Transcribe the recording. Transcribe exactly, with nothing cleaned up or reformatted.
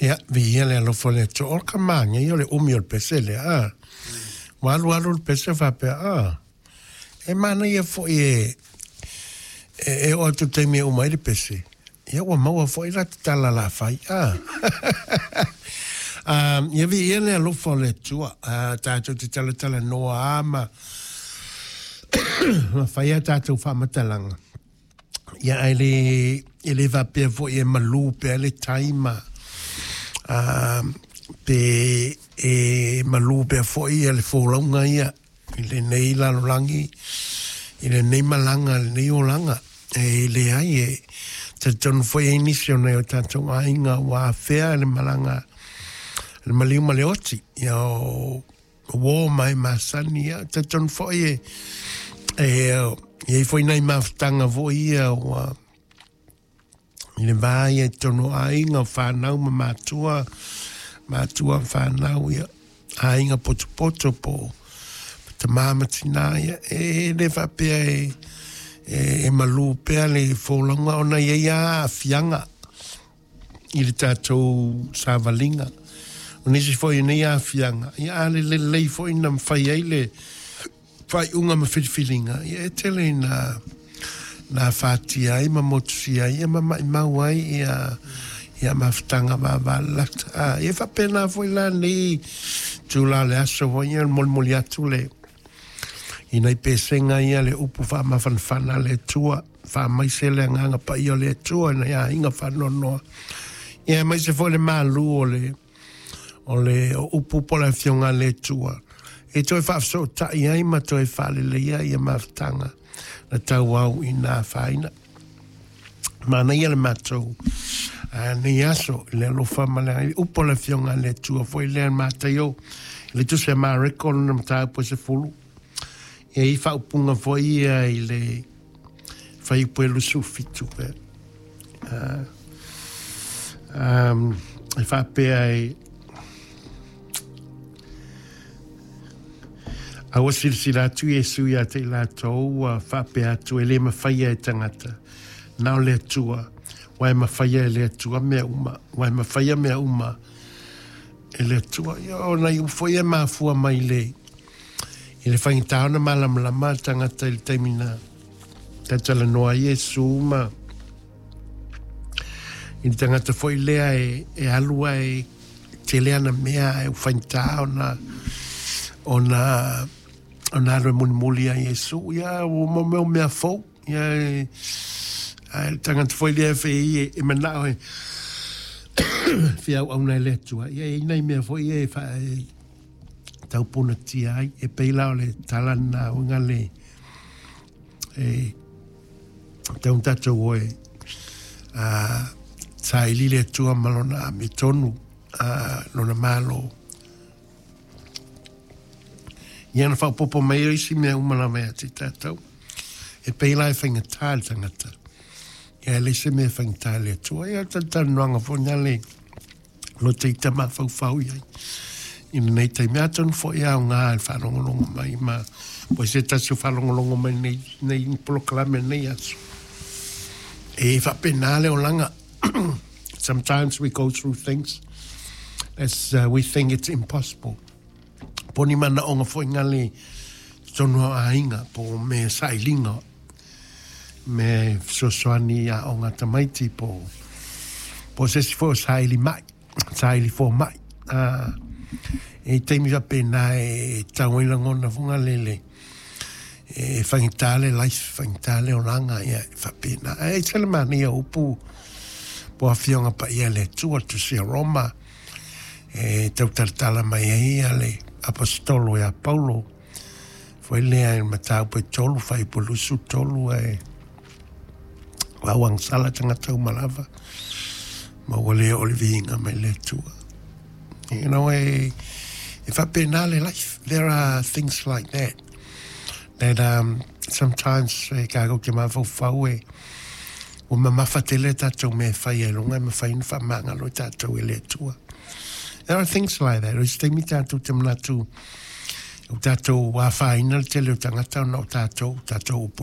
Ia, viia le alofa o le Atua. O le kamāgia o le umi o le pese lea, a. Ua alu alu le pese faapea, a, e manaia foi e, e, e oo atu i le taimi e uma ai le pese, ia ua maua foi la te tala la fai, a. Um, ia viia le alofa o le Atua, uh, tatou te talatalanoa a ma, ma fai a tatou faamatalaga. Ia ae le, e le faapea foi e malū pea le tai ma, uh, pe e malū pea foi ia le folauga ia i lenei lalolagi, i lenei malaga, lenei olaga. E leai e talitonu foi e i ai nisi o nai o tatou aiga ua afea le malaga le maliu ma le oti, ia o uō ma e masani, ia talitonu foi e e i ai foi nai mafutaga foi ia ua i le va ia i totonu o aiga o fanau ma matua, matua ma fanau, ia aiga potopoto po o tamā ma tinā, ia e le faapea e e, e malū pea le folauga ona e i ai lava aafiaga i le tatou savaliga. O nisi foi o nei aafiaga, ia a le lelei foi na mafai ai le faaiuga ma filifiliga, ia e tele ina na afatia ai ma motusia ai ia ma maimau ai ia ia mafutaga vavalalata. A, ia faapena foi la lenei itula o le aso foi ia molimoli atu le i nai pesega ia le upu faamafanafana a le Atua, faamaise le agaga paia o le Atua i nai aiga faanoanoa. Ia aemaise foi le malu o le o le o upu po o le afioga a le Atua e toe faafesootai ai ma toe faaleleia ia mafutaga na tauau ina afaina. Manaia le matou nei aso i le alofa ma le upu o le afioga a le Atua foi lea Mataio i le tusi a Mareko lona mataupu e sefulu. E i ai faaupuga foi ia i le fuaiupu e luasefulu fitu pe. Uh, um, e faapea e a ua silasila atu Iesu ia te i latou ua faapea atu e le mafaia e tagata, na o le Atua, aua e mafaia e le Atua mea uma, aua e mafaia mea uma e le Atua. Ia, o nai upu foi ia e mafua mai le i le faigata ona malamalama le tagata i le taimi na talatalanoa ai Iesu ma i le tagata foi lea e, e alu ae tele ana mea ae ua faigata ona ona ona alu e mulimuli ia Iesu. Ia, ua mo mea fou. Ia, e, ae le tagata foi lea e e, e manao e fia auauna i le Atua. Ia, e i ai nai mea foi ia e, fa, e taupunatia ai. E pei la o le tala lena uiga le e tau tatou o e a saili le Atua ma lona amiotonu, a lona Malo. Ia na faaopoopo mai ai isi mea uma lava ia te tatou. E pei la e faigata le tagata. Ia e leai se mea e faigata i le Atua. Ia o le talatalanoaga foi lena le loto ita mafaufau i ai i lenei taimi. Atonu foi e aoga i le faalogologo mai ma po o se tasi o faalogologo mai nei, nei polokalame nei aso. E faapena le olaga. Sometimes we go through things as uh, we think it's impossible. Po ni manaoga foi ngale totonu o aiga po o me sailiga me fesoasoani i aoga a tamaiti po po se isi foi o saili mai, saili fomai. A, e taimi faapena e tau ai lagona foi ngale le e faigata le life, faigata le olaga, ia e faapena. Ae ese le manaia o upu po o afioga paia a le Atua, le Tusi a Roma, e tautalatala mai ai ia le Aposetolo ia Paulo, foi lea i le mataupu e tolu, fuaiupu e luasefulu tolu, ae ua auagasala tagata uma lava, ma ua le oo le viiga mai le Atua. You know, e, e faapena le life. There are things like that that um, sometimes e kākou te mafaufau e ua mamafa tele tatou mea e fai ai luga e mafai ona faamagalo i tatou e le Atua. There are things like that. O isi taimi tatou te manatu o tatou afaina le tele o tagata ona o tatou, tatou upu e